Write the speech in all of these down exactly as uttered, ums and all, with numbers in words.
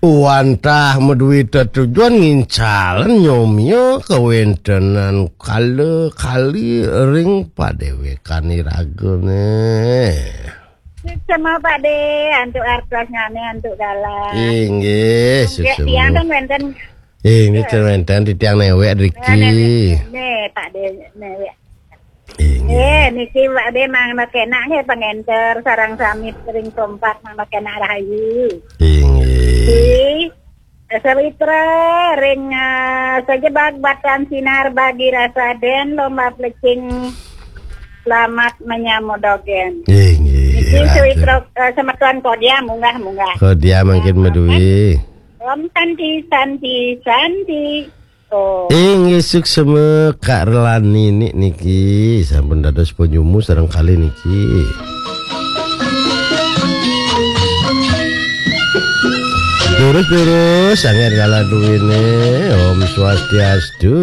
Wantah madué tetujon ngincalen nyomia kawéntenan kala kali ring padéwékan iragané. Suksma Pak Dé, antuk artosnyané, antuk galah. Inggih, suksma. Tiang ten wénten. Inggih, ten wénten titiang néwék driki. Né, Pak Dé, néwék. Inggih. Eh, niki Pak Dé mangda kénak nggih pangénter sareng sami ring kompak mangda kénak rahayu. Inggih. Di Sawitra ring eh, sajebag batan sinar bagi rasa den lomba plecing selamat menyambut dogén. Inggih. Niki Sawitra eh, semeton Kodia munggah-munggah. Kodia mangkin madué. Om Santi, Santi, Santi. Oh. Inggih suksma Kak Relani ni-, niki sampun dados penyumu sareng kali niki. Durus-durus sanget kala duwene. Om Swastiastu.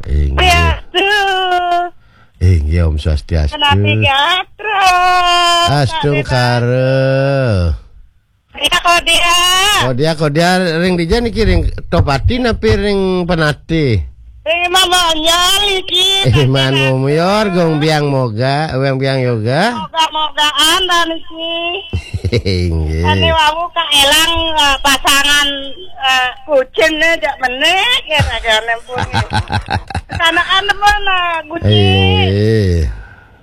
Inggih. Swastiastu. Inggih Om Swastiastu. Menawi gatra. Astungkara. Ya, Kodia. Kodia, Kodia ring dija niki ring Tohpati napi ring Penatih? Ring Mamonyol iki. Eh, man Momior, gong biang moga, weng biang yoga. Moga-mogaan dah niki. Inggih. Ane wau Kak Elang eh, pasangan eh, kucing nih jak menik ya ragane pun. Kanakan temen eh, kucing. Inggih.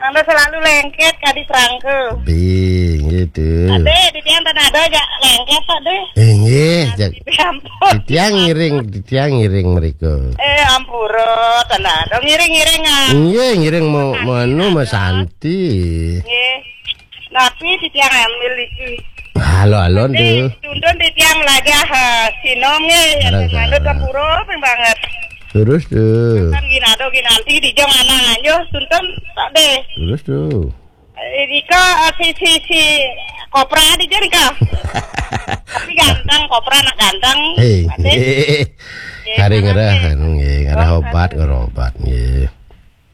Anda selalu lengket kadi prangke. Bing, gitu. Ade, di tiang tanah ada jak lengket, Pak, deh. Inggih, jak. Di ampun. Di tiang ngiring, di tiang ngiring mereka. Eh, ampura, tanah ada. Ngiring-ngiring, ah. Inggih, ngiring mau, mau anu, mau santi. Nggih. Napi di tiang ambil iki. Halo, halo, Ade, tuh. Tuntun di tiang lajah, eh, sinom, nggih. Arang manut salah. Ampura, ping banget. Terus tuh. Kan ginado ginanti di jong anang anjo, tuntun, Pak, deh. Terus tuh. Eh, Rika, eh, si, si, si Kopra di Jerika. Tapi ganteng, Kopra anak ganteng. Hei, Pak deh. Hei. Kari ngerah, anu, nggih, ngerah obat, ngerah obat, nggih.